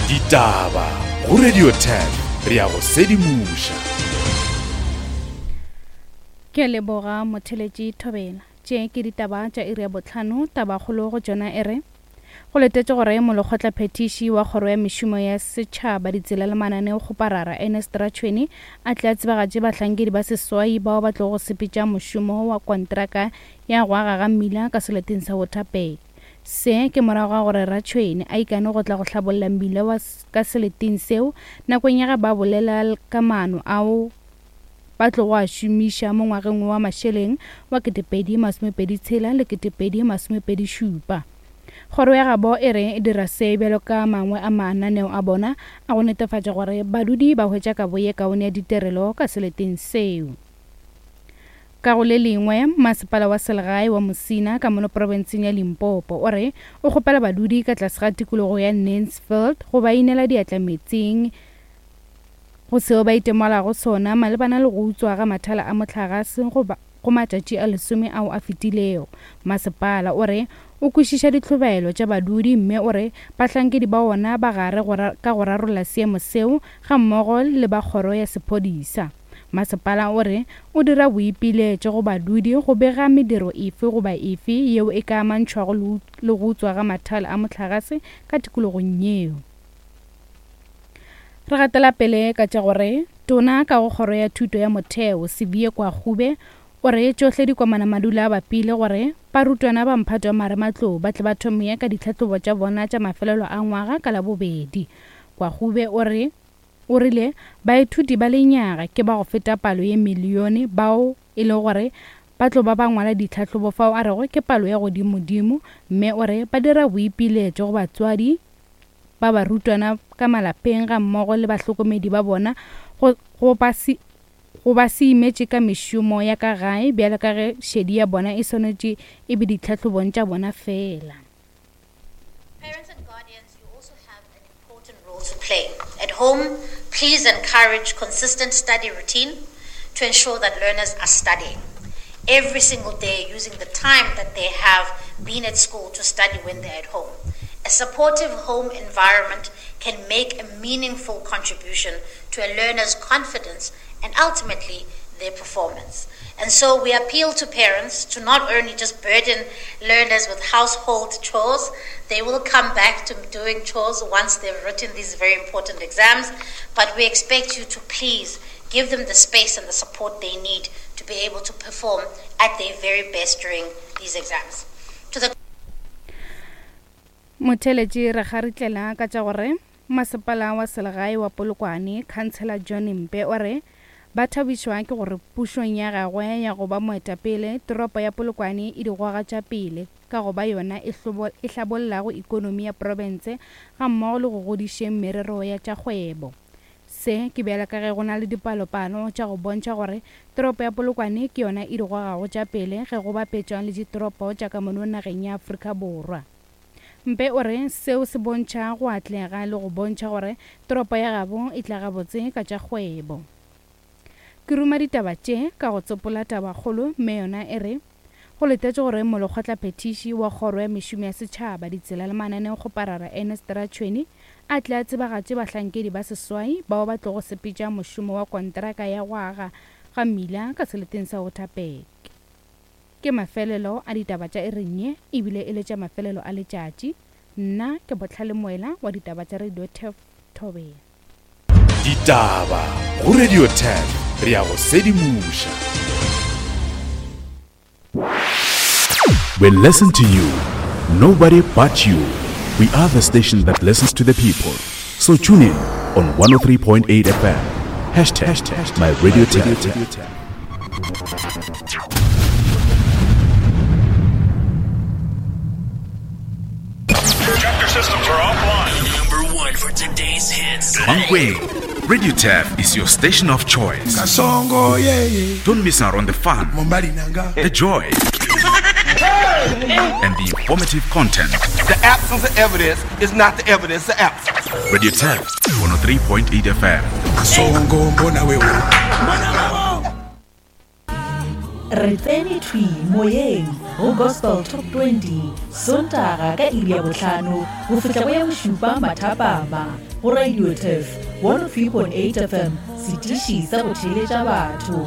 Ditaba go Radio 10 re ya go sedimoša. Ke a leboga motheletši Thobela. Tše ke ditaba tša iri ya bohlano, tabakgolo go tšona e re, Go letetšwe gore molekgotlaphethiši wa Kgoro ya Mešomo ya Setšhaba, Ditsela le Mananeokgoparara, Ernest Ratšhweni, a tle a tsebagatše bahlankedi ba seswai bao ba tlogo sepetša mošomo wa kontraka ya go aga ga mmila ka seleteng sa Waterberg. Se ke morago ga gore Ratšhweni a ikane go tla go hlabolla mmila wa ka seleteng seo nakong ya ge ba bolela ka maano ao ba tlogo a šomiša mo ngwageng wa mašeleng wa 2026 le 2027. Kgoro ya gabo e re e dira se bjalo ka mangwe a mananeo a bona a go netefatša gore badudi ba hwetša kabo ye kaone ya ditirelo ka seleteng seo. Ka go le lengwe, masepala wa selegae wa Musina ka mono profenseng ya Limpopo o re o kgopela badudi ka tlase ga tikologo ya Nancefield go ba inela diatla metsing go seo ba itemogelago sona malebana le go utswa ga mathala a mohlagase go go matšatši a lesome ao a fetilego. Masepala o re o kwešiša ditlhobaelo tša badudi mme o re bahlankedi ba wona ba gare go ka go rarolla seemo seo gammogo le ba kgoro ya sephodisa. Masepala o re o dira boipiletšo go badudi go bega mediro efe goba efe yeo e ka amantšhwago le go utswa ga mathala a mohlagase ka tikologong yeo. Re gatela pele ka tša gore Tona ka go Kgoro ya Thuto ya Motheo, Siviwe Gwarube, o re tšohle dikomana madula a bapile gore barutwana ba mphato wa marematlou ba tle ba thome ka ditlhahlobo tša bona tša mafelelo a ngwaga ka Labobedi. Gwarube o re o rile baithuti ba lenyaga ke ba go feta palo ye milione bao e lego gore ba tlo ba ba ngwala ditlhahlobo fao a rego ke palo ya godimodimo mme o re ba dira boipiletšo go batswadi ba barutwana ka malapeng gammogo le bahlokomedi ba bona go, go ba se, go ba se imetše ka mešomo ya ka gae bjalo ka ge šedi ya bona e swanetše e be ditlhahlobong tša bona feela. Parents and guardians, you also have an important role to play. At home, please encourage consistent study routine to ensure that learners are studying every single day using the time that they have been at school to study when they're at home. A supportive home environment can make a meaningful contribution to a learner's confidence and ultimately their performance. And so we appeal to parents to not only just burden learners with household chores, they will come back to doing chores once they've written these very important exams, but we expect you to please give them the space and the support they need to be able to perform at their very best during these exams. To the Motheeletši re kgaritlela ka tša gore masepala wa selegae wa Polokwane, Councillor John Mpe o re ba thabišwa ke gore pušong ya gagwe ya go ba moetapele, toropo ya Polokwane e di goga tša pele ka go ba yona e e hlabollago ikonomi ya profense gammogo le go godišeng merero ya tša kgwebo. Se ke bjalo ka ge go na le dipalopalo tša go bontšha gore toropo ya Polokwane ke yona e di gogago tša pele ge go bapetšwa le ditoropo tša ka mono nageng ya Afrika Borwa. Mpe o re seo se bontšha go atlega le go bontšha gore toropo ya gabo e tla gabotse ka tša kgwebo. Ke ruma ditaba tše ka go tsopola tabakgolo mme yona e re, Go letetšwe gore Molekgotlaphethiši wa Kgoro ya Mešomo ya Setšhaba, Ditsela le Mananeokgoparara Ernest Ratšhweni a tle a tsebagatše bahlankedi ba seswai bao ba tlogo sepetša mošomo wa kontraka ya go aga ga mmila ka seleteng sa Waterberg. Ke mafelelo a ditaba tša iring ye ebile e le tša mafelelo a letšatši. Nna ke Bohlale Moela wa ditaba tša Radio Turf Thobela. Ditaba go Radio 10 re ya go sedimoša. We listen to you, nobody but you. We are the station that listens to the people. So tune in on 103.8 FM. Hashtag my radio 10. Chapter systems are offline. Number one for today's hits. Mankweng. Radio Tap is your station of choice. Kasongo, yeah, yeah. Don't miss out on the fun, the joy, and the informative content. The absence of evidence is not the evidence of absence. Radio Tap 103.8 FM. Kasongo, mbona wewe. Re tsene thwi moyeng. go Gospel Top 20, Sontaga ka iri ya bohlano go fihla go ya bošupa mathapama go Radio Turf 103.8 FM, setiši sa go theeletša batho.